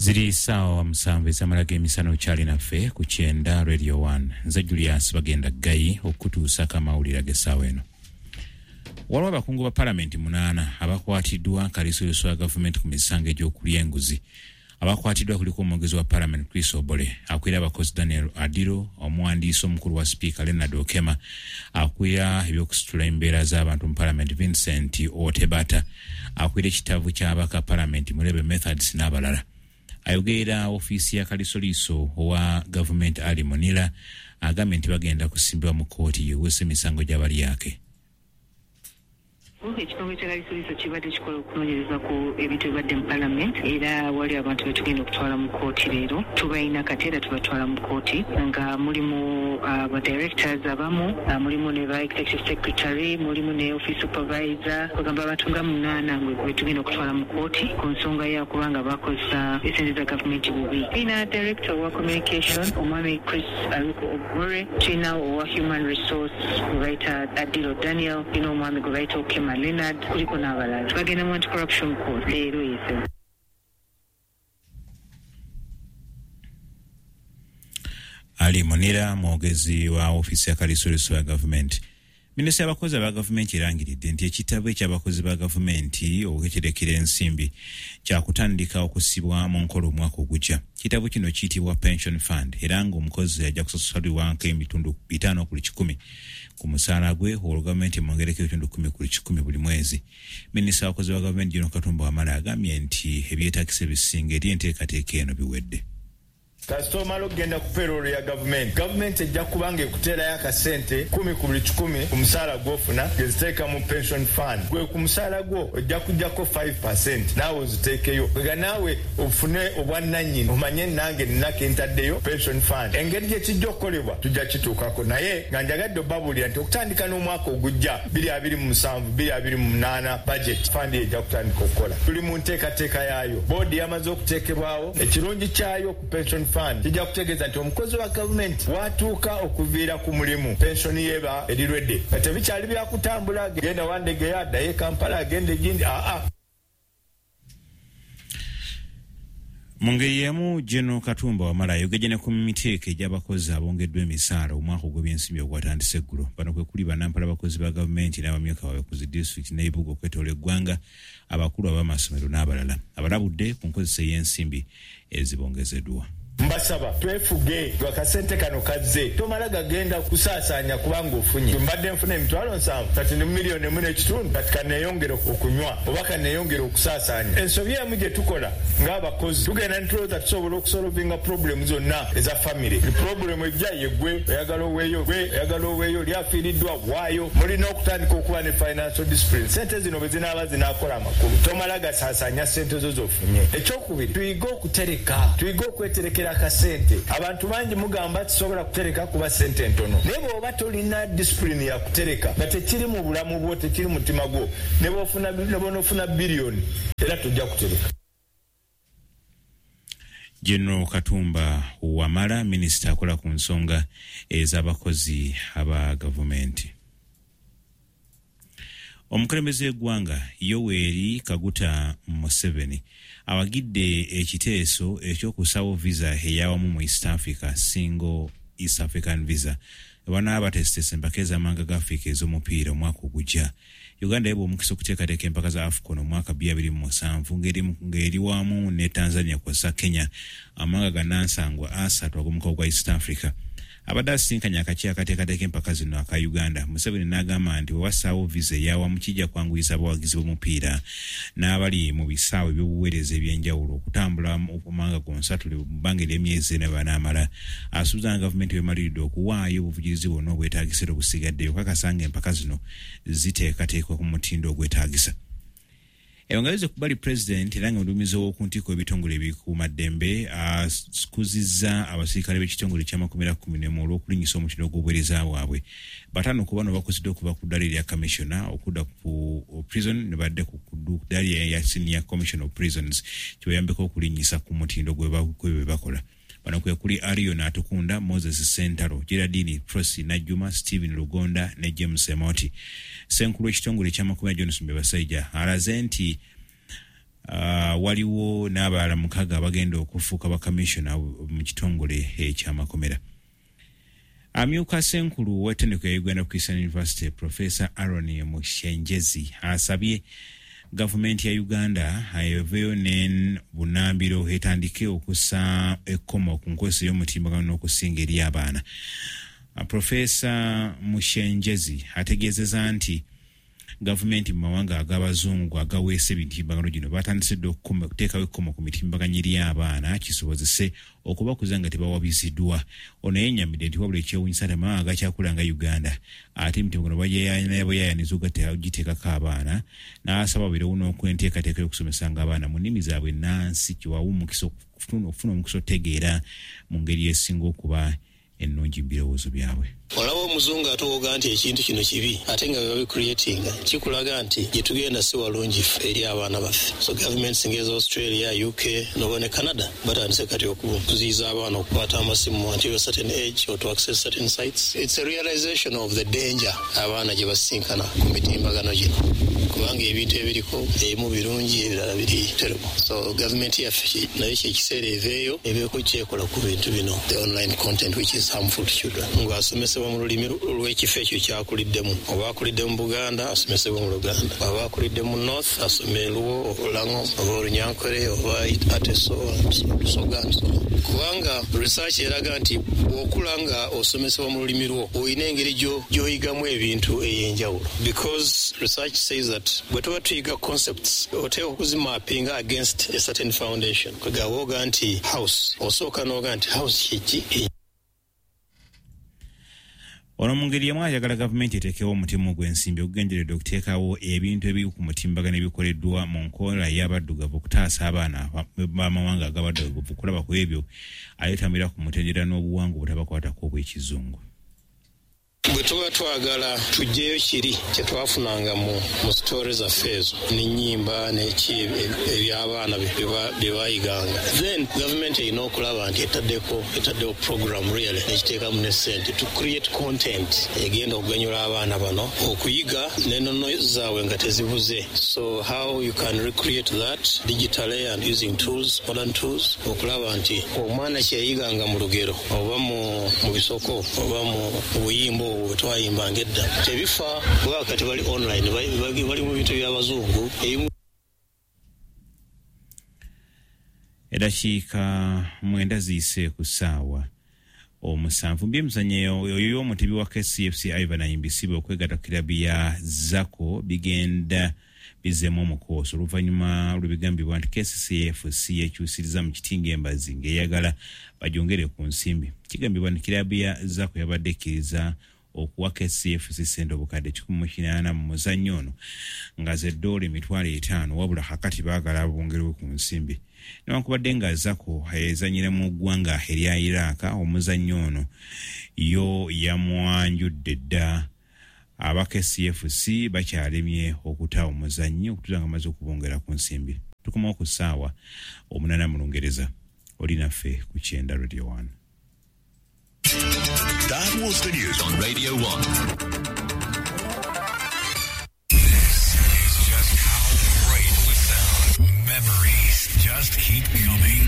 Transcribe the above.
Ziri ssaawa 7 ez'amala g'emisana, okyali naffe ku 90 Radio 1. Nze Julius Bagenda Ggayi okutuusako amawulire ag'essaawa eno. Waliwo abakungu ba palamenti 8 abakwatiddwa kaliisoliiso wa gavumenti ku misango egy'okulya enguzi. Abakwatiddwa kuliko omwogezi wa palamenti Chris Obole, akulira abakozi Daniel Adiro, omuwandiisi omukulu wa sipiika Leonard Okema, akulira ebyokusitula embeera z'abantu mu palamenti Vincent Otebata, akulira ekitavu ky'abaka palamenti Murebe Methods n'abalala. Ayogerera ofiisi ya kalisoliiso owa gavumenti Ali Munira agambye nti bagenda kusimbibwa mu kkooti yeewesa emisango gy'abalyake. Ekitongole kya kalisoliiso kibadde kikola okunoonyereza ku ebintu ebibadde mu palamenti, era wali abantu betugenda okutwala mu kkooti leero. Tubalina kati era tubatwala mu kkooti, nga mulimu ba directors abamu, mulimu ne ba executive secretary, mulimu ne office supervisor, kwegamba abantu nga 8 betugenda okutwala mu kkooti ku nsonga ya kubanga bakozesa esente za gavumenti bubi. Tulina director owa communication omwami Chris Aruko Ogore, tulina owa human resource gwe bayita Adilo Daniel, tulina omwami gwe bayita Okema Leonard, kuliko n'abalala. Bagenda mu anti-corruption court leero yese. Ali Munira, mwogezi wa ofiisi ya kalisoliso ya gavumenti. Minisita y'abakozi aba gavumenti erangiridde nti ekitabo eky'abakozi ba gavumenti okweterekera ensimbi kyakutandika okussibwa mu nkola omwaka ogujja. Kitabo kino kiyitibwa Pension Fund, era ng'omukozi ajja kusasulibwako ebitundu 5 ku 100 ku musaala gwe, olwo gavumenti emwongereko ebitundu 10 ku 100 buli mwezi. Minisita w'abakozi ba gavumenti General Katumba Wamala agambye nti ebyetaagisa ebisinga eri enteekateeka eno biwedde. Kasita omala okugenda ku payroll ya gavumenti, gavumenti ejja kuba ng'ekuteerayo akasente 10 ku buli 100 ku musaala gw'ofuna, ng'eziteeka mu pension fund. Gwe ku musaala gwo ojja kuggyako 5% naawe oziteekeyo, nga naawe ofune obwannannyini, omanye nange nina ke ntaddeyo pension fund. Engeri gye kijja okukolebwa tujja kituukako, naye nga njagadde obabuulira nti okutandika n'omwaka ogujja 2027 2028 budget, fund ejja kutandika okukola. Tuli mu nteekateeka yaayo, boodi yamaze okuteekebwawo. Ekirungi kyayo ku pension fund, kijja kutegeeza nti omukozi wa gavumenti watuuka okuviira ku mulimu, pensioni yeba eri ready, nga tebikyali byakutambula genda Wandegeya, addayo e Kampala, agenda egindi aa. Mu ngeri y'emu, General Katumba Wamala ayogedde ne ku miteeko egy'abakozi abongeddwa emisaala omwaka ogw'ebyensimbi ogwatandise eggulo. Bano kwe kuli bannampala abakozi ba gavumenti n'abamyuka baabwe ku zi disitulikiti n'ebibuga okwetoola eggwanga, abakulu ab'amasomero n'abalala. Abalabudde ku nkozesa ey'ensimbi ezibongezeddwa. Mbasaba twefuge, akasente kano kazze, tomala gagenda kusaasaanya kubanga ofunye. Mbadde nfuna 70,000, kati ndi mu 1.5 million, kati kaneeyongere okunywa oba kaneeyongere okusaasaanya. Ensobi emu gye tukola ng'abakozi, tugenda ne tulowooza tusobola okusolovinga problem zonna eza famire. Problem ejja ye gwe oyagala oweeyo, gwe oyagala oweeyo, oli afiiriddwa waayo. Mulina okutandika okuba ne financial discipline. Sente zino bwe zinaaba zinaakola amakulu, tomala gasaasaanya sente zo z'ofunye. Ekyokubiri, tuyige okutereka, tuyige okweterekera akasente. Abantu bangi mugamba tisobola kutereka kuba sente ntono, naye bw'oba tolina discipline ya kutereka, nga tekiri mu bulamu bwo, tekiri mutima gwo, ne bw'onoofuna biliyoni era tojja kutereka. General Katumba Wamala, minisita akola ku nsonga ez'abakozi aba gavumenti. Omukulembeze w'eggwanga Yoweri Kaguta Museveni awagidde ekiteeso ekyokusaawo visa eyawamu mu East Africa, Single East African Visa, banaaba bateeseteese empaka ez'amawanga ga Africa ez'omupiira omwaka ogujja. Uganda yebwa omukisa okuteekateeka empaka za AFCON omwaka 2027 ng'eri wamu ne Tanzania kw'ossa Kenya, amawanga gannansangwa 3 ag'omukago gwa East Africa. Abadde asisinkanye akakiiko akateekateeka empaka zino aka Uganda, Museveni n'agamba nti bwe bassaawo visa eyawamu kijja kwanguyisa abawagizi b'omupiira n'abali mu bisaawe eby'obuweereza eby'enjawulo okutambula mu mawanga gonsatule mu bbanga ery'emyezi ena banaamala. Asuubiza nga gavumenti bw'emaliridde okuwaayo obuvujjirizi bwonna obwetaagisa era obusigaddeyo okukakasa ng'empaka zino ziteekateekwa ku mutindo ogwetaagisa. Ebangalize ku bali president era nga muduumizi ow'oku ntikko w'ebitongole ebikuumaddembe akuzizza abasirikale b'ekitongole ky'amakomera 11 olw'okulinnyisa omutindo gw'obuweereza bwabwe. 5 ku bano bakuziddwa okuva ku ddaala erya commissioner okudda ku prison ne badde ku ddaala erya senior commissioner of prisons, kibayambeko okulinnyisa ku mutindo gwe bakola. Bano kwe kuli Arion Atukunda, Moses Sentaro, Geraldine Prossy Najjuma, Stephen Lugonda ne James Emoti. Ssenkulu w'ekitongole ky'amakomera Johnson Byebasaija alaze nti Waliwo n'abalala 6 abagenda okufuuka bakamishona mu kitongole eky'amakomera. Amyuka ssenkulu w'ettendekero ya Uganda Christian University, Professor Aaron Mushengyezi, asabye gavumenti ya Uganda eveeyo ne bunambiro etandike okussa ekkomo ku nkozesa y'omutimbagano n'okusinga eri abaana. Professor Mushengyezi ategeezezza nti gavumenti mu mawanga ag'abazungu agaweesa emitimbagano gino batandise dda okuteekawo ekkomo ku mitimbagano eri abaana kisobozese okubakuza nga tebawabiziddwa. Ono yennyamidde nti wabula ekyewuunyisa nti amawanga agakyakula nga Uganda ate emitimbagano bagyeyayaniza ogiteekako abaana, n'asaba babeerewo n'okwenteekateeka y'okusomesanga abaana mu nnimi zaabwe ennansi kiwawe omukisa okufuna omukisa okutegeera mu ngeri esinga okuba ennungi mu birowoozo byabwe. Olaba omuzungu atuwoga nti ekintu kino kibi ate nga bwe babicreatinga kikulaga nti gye tugenda si walungi ffe eri abaana baffe. So governments ng'eza Australia, UK noba ne Canada batandise kati okuziyiza abaana okukwata amasimu until a certain age or to access certain sites. It's a realization of the danger abaana gye basisinkana ku mitimbagano gino, kubanga ebintu ebiriko ebimu birungi ebirala biri terrible. So government yaffe nayo kyekiseera eveeyo ebeeko kyekola ku bintu bino, the online content which is harmful to children. Ng'asomesebwa mu lulimi lw'ekifo ekyo kyakuliddemu, oba akulidde mu Buganda asomesebwe mu Luganda, oba akulidde mu North asome Luo, Olango oba Olunyankore oba Ateso, Lusoga and so on. Kubanga research eraga nti bw'okula nga osomesebwa mu lulimi lwo olina engeri gy'oyigamu ebintu ey'enjawulo, because research says that bwe tuba tuyiga concepts oteekwa okuzimapinga against a certain foundation. Kwegamba oga nti house, osooka n'oga nti house kyeki. Ono mu ngeri emu ayagala gavumenti eteekewo omutimu gw'ensimbi ogugenderedde okuteekawo ebintu ebiri ku mutimbagano ebikoleddwa mu nkola y'abaddugavu okutaasa abaana b'amawanga ag'abaddugavu okulaba ku ebyo ayetambira ku mutendera n'obuwangu obutabakwatako obw'ekizungu. Bwe tuba twagala tuggyeyo kiri kye twafunanga mu sitore zaffe ezo n'ennyimba n'eki eby'abaana bye bayiganga, then gavumenti erina okulaba nti etaddewo program really n'ekiteekamu ne ssente to create content egenda okuganyula abaana bano okuyiga n'ennono zaabwe nga tezibuze. So how you can recreate that digitally and using tools, modern tools, okulaba nti omwana kye yayiganga mu lugero oba mu bisoko oba mu buyimba obwo bwe twayimbanga edda tebifa, kuba kati bali online, bali mu bintu by'abazungu. Eddakiika 9 ziyise ku ssaawa 7. Byemizannyo, oyo omutebi wa KCFC Ivan Ayimbisibwe okwegatta ku kirabu ya Zako bigenda bizzeemu omukoosi oluvannyuma lw'ebigambibwa nti KCCFC yekyusiriza mu kitinga embazi ng'eyagala bagyongere ku nsimbi. Kigambibwa nti kirabu ya Zako yabadde ekkiriza okuwa KCFC ssente obukadde 180 mu muzannyo ono nga ze ddoola 500,000, wabula kakati baagala bongerwe ku nsimbi. Newankubadde nga Zako ezannyira mu ggwanga erya Iraq, omuzannyo ono yo yamwanjudde dda. Aba KCFC bakyalemye okuta omuzannyi okutuusa nga amaze okubongera ku nsimbi. Tukomawo ku ssaawa 8 mu Lungereza. Oli naffe ku Kyenda Radio 1. That was the news on Radio 1. This is just how great we sound. Memories just keep coming.